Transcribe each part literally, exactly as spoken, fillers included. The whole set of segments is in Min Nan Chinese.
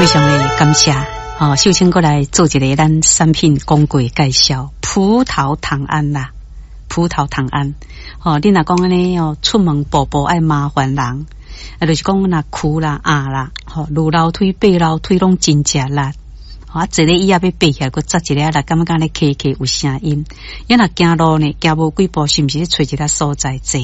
非常的感謝，吼，秀清閣來做一个咱產品廣告介紹，葡萄糖胺啦，葡萄糖胺，吼，你若講按呢哦，出門步步愛麻煩人，啊，就是講若跍啦、壓啦，吼，攄樓梯、爬樓梯攏真食力，啊，坐咧椅仔欲爬起來，閣扎一下力，感覺按呢磕磕有聲音。伊若行路呢，行無幾步，是毋是咧揣一个所在坐？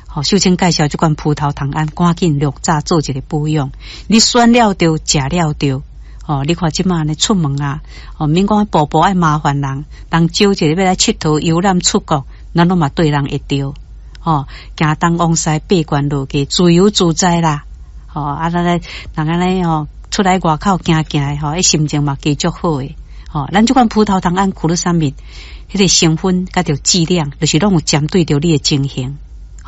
吼，秀清介紹這款葡萄糖胺，趕緊略早做一个保養。你選了著，食了著，吼，你看這馬呢出門啊，吼，免講步步愛麻煩人，人招一个欲來𨑨迌遊覽出國，咱攏嘛對人會著，吼，行東往西爬懸落低，自由自在啦，吼，啊，咱咧人按呢吼，出來外口行行的吼，彼心情嘛加足好的，吼，咱這款葡萄糖胺苦魯三蜜，彼个成分佮著劑量，就是攏有針對著你的情形。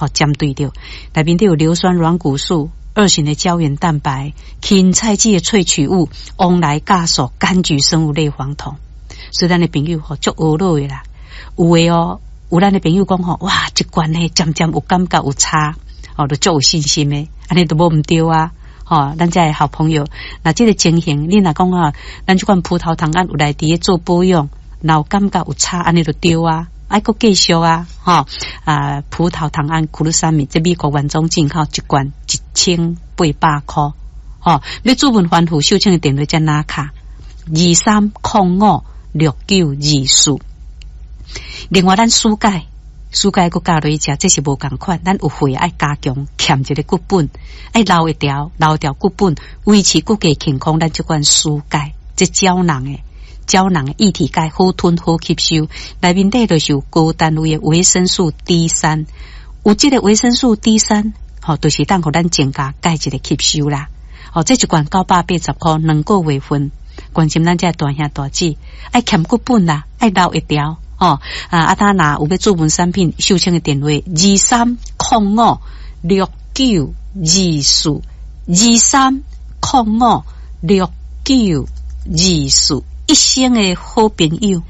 吼，針對著內面底有硫酸軟骨素、二型的膠原蛋白、芹菜籽的萃取物、黃來酵素、柑橘生物類黃酮。所以咱的朋友吼足懊惱的啦，有的哦，有咱的朋友講吼，哇，這罐呢漸漸有感覺有差，哦，就足有信心的，按呢都無毋著啊，吼，咱遮的好朋友，若這个情形，你若講啊，咱這款葡萄糖胺有來佇咧做保養，若有感覺有差，按呢就對啊。愛閣繼續啊，吼啊！葡萄糖胺苦魯三米，這美國原裝進口一罐一千八百箍，吼！欲諮問番號秀清的電話才拿卡二三空五六九二四。另外，咱舒鈣，舒鈣閣加落去食，這是無仝款。咱有血愛加強，欠一个骨本，愛留會牢，留牢骨本，維持骨骼健康。咱這款舒鈣，這膠囊的。膠囊的液體鈣好吞好吸收，內面底就是有高單位的維生素 D 三，有這個維生素 D 三，吼，就是當予咱增加鈣質的吸收啦。吼，這一罐九百八十箍，兩個月份。關心咱遮大兄大姊，愛欠骨本啦，愛留會牢，吼啊！啊，他若有欲諮問產品，秀清的電話二三空五六九二四二三空五六九二四。一生的好朋友。